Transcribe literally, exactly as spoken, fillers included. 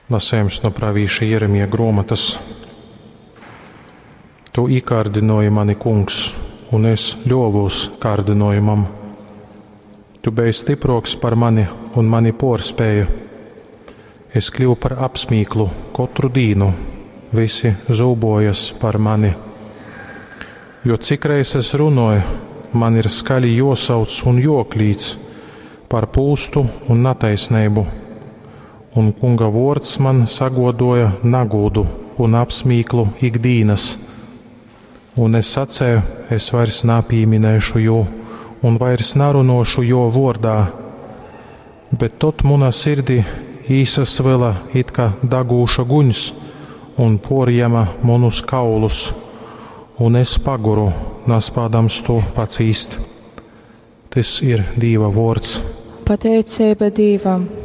Lasējums no pravīša Jeremija gruomotys. Tu īkārdynuoji mani, Kungs, un es ļuovūs kārdynuojumam. Tu beji stypruoks par mani un mani puorspēji. Es kļuvu par apsmīklu kotru dīnu, vysi zūbojas par mani. Jo cikreiz es runoju, man ir skaļi juosauc un juoklīdz par pūstu un nataisneibu. Un Kunga vuords man saguoduoja nagūdu un apsmīklu ikdīnas. Un es sacēju, es vairs napīminēšu jū un vairs narunuošu juo vuordā. Bet tod munā sirdī īsasvyla it kā dagūša guņs un puorjēma munus kaulus, un es paguru, naspādams tū pacīst. Tys ir Dīva vuords. Pateiceiba Dīvam!